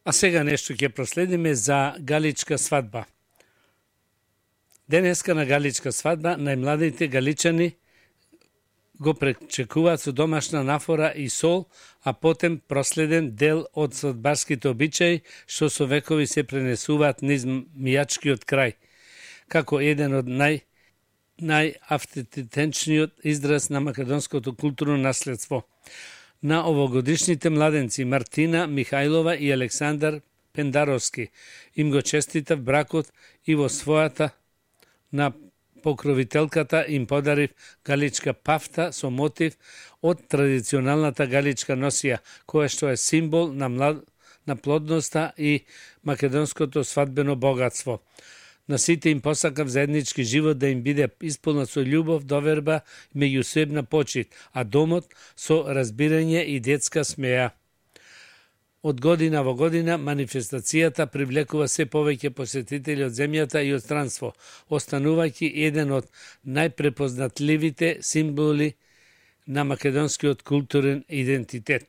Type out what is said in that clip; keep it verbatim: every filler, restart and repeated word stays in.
А сега нешто ќе проследиме за галичка свадба. Денеска на галичка свадба најмладите галичани го пречекуваат со домашна нафора и сол, а потем проследен дел од свадбарските обичаи што со векови се пренесуваат низ мијачкиот крај, како еден од нај најавтентичниот израз на македонското културно наследство. На овогодишните младенци Мартина Михајлова и Александар Пендаровски им го честитав бракот и во својата на покровителката им подарив галичка пафта со мотив од традиционалната галичка носија, која што е символ на, млад... на плодноста и македонското свадбено богатство. На сите им посакав заеднички живот да им биде исполнат со љубов, доверба и меѓусебна почит, а домот со разбирање и детска смеја. Од година во година манифестацијата привлекува се повеќе посетители од земјата и од странство, останувајќи еден од најпрепознатливите символи на македонскиот културен идентитет.